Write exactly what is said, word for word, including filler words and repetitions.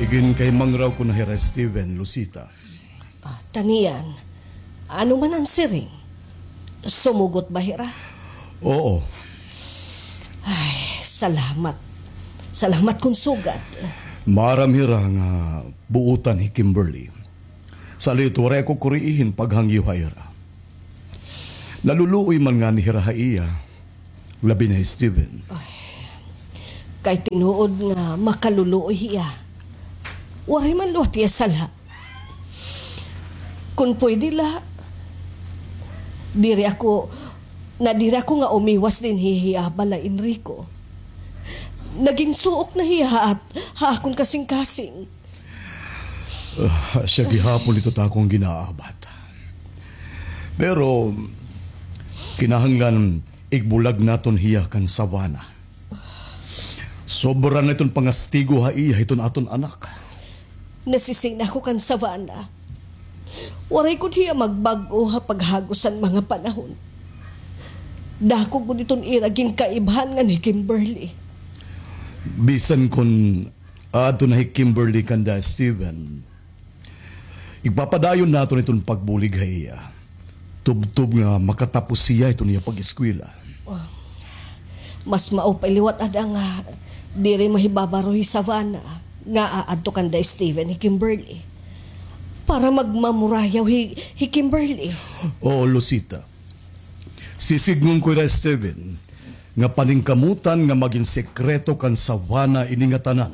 Ginkahimangraw ko na hira, Steven, Lucita. Ah, taniyan, ano man an siring? Sumugot ba hira? Oo. Ay, salamat. Salamat kon sugad. Maaram hira nga buotan hi Kimberly. Salit waray ako kuriihin paghangyo ha ira. Naluluoy man ngani hira ha iya, labi na hi Steven. Ay, kay tinuod nga makaluluoy hiya. Waray man liwat hiya sala. Kon pwede la, diri ako, na diri ako nga umiwas dinhi hiya ha balay, Enrico. Naging suok na hiya ha, ha akon kasingkasing. Ah, asya gihapon ito ta akon ginaabat. Pero, kinahanglan igbulag naton hiya kan Savannah. Sobra na iton pangastigo ha iya hiton aton anak. Nasisina ako kan Savannah. Waray gud hiya magbag-o ha paghagos han mga panahon. Dako gud iton ira ginkaibhan ngan hi Kimberly. Bisan kon aadto na hi Kimberly kanda Steven, igpapadayon naton iton pagbulig ha iya. Tubtob nga makatapos hiya iton iya pag-eskwela. Oh, mas mao pa liwat ada nga diri mahibabaro hi Savannah nga aadto kanda Steven hi Kimberly. Para magmamurayaw hi, hi Kimberly. Oo, Lucita. Sisidngon ko hira, Steven, nga paningkamutan nga magin sekreto kan Savannah ini nga tanan.